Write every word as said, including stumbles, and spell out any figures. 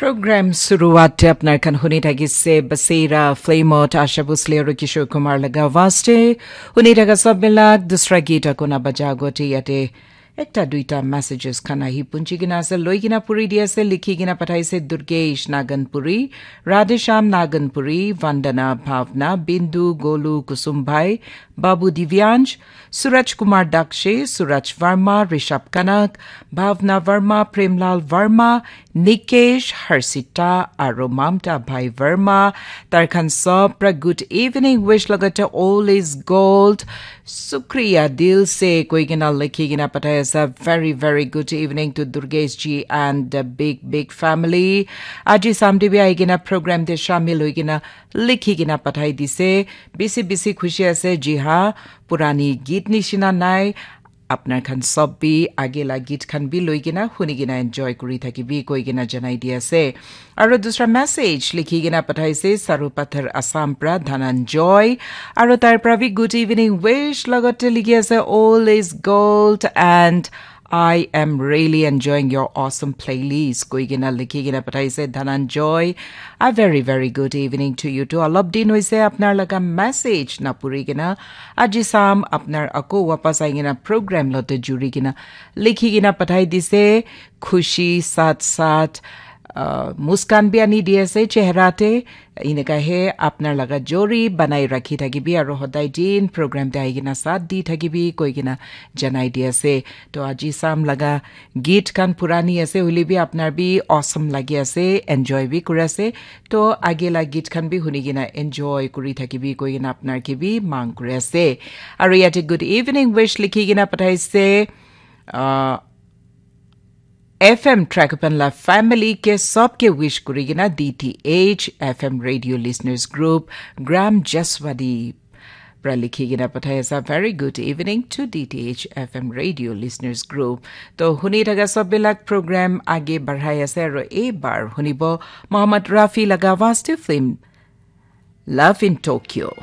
Program suruat te apnar khan huni thakise Basera Flamot Asha Bhosle aru Kishore Kumar laga awaaz te. Huni thaka sab milak dusra geet akona baja agote yate ekta duita messages khan ahi punchi kena ase, loi kena puri di ase, likhi kena pathaise Durgesh Naganpuri, Radheshyam Naganpuri, Vandana Bhavna, Bindu, Golu, Kusum Bhai, Babu Divyansh, Suraj Kumar Dakshe, Suraj Verma, Rishabh Kanak, Bhavna Verma, Premlal Verma, Nikesh, Harsita, aru Mamta Bhai Verma, tar khan sob pra good evening wish lagate all is gold. Shukriya dil se koi kena likhi kena pathai asa. Very, very good evening to Durgesh ji and the big, big family. Aji samdi bi ahi kena program te shamil hoi kena likhi kena pathai dise. Bisi, bisi khushi ase, ji ha, purani geet nishina nai. Apnar khan sob bi age la geet khan bi loi kena huni kena enjoy kuri thakibi koi kena janai di ase. Aru dusra message likhi kena pathaise Saru Pathar Assam pra Dhananjoy. Aru tar pra bi good evening wish lagate likhi ase all is gold and I am really enjoying your awesome playlist koi kena likhi kena pathaise Dhananjoy. A very, very good evening to you too. Alop din hoise apnar laga message na puri kena. Aji sam apnar ako wapas ahi kena program lote juri kena likhi kena pathai dise. Khushi sat sat, uh, muskan bi ani di ase chehra te. Ineka he apnar laga jori banai rakhi thakibi aru hodai din program te ahi kena sat di thakibi koi kena janai di ase. To aji sam laga geet khan purani ase, hoile bi apnar bi awesome lagi ase, enjoy bi kuri ase. To age la geet khan bi huni kena enjoy kuri thakibi koi kena apnar ke bi mang kuri ase. Aru yate good evening wish likhi kena pathaise, uh, F M Trakupan la family ke sob ke wish kuri kena D T H F M radio listeners group Gram Jaswadi pra likhi kena pathai asa. Very good evening to D T H F M radio listeners group. To huni thaka sob bilak program age barhai ase aru ei bar hunibo Mohammad Rafi laga awaaz te film Love in Tokyo.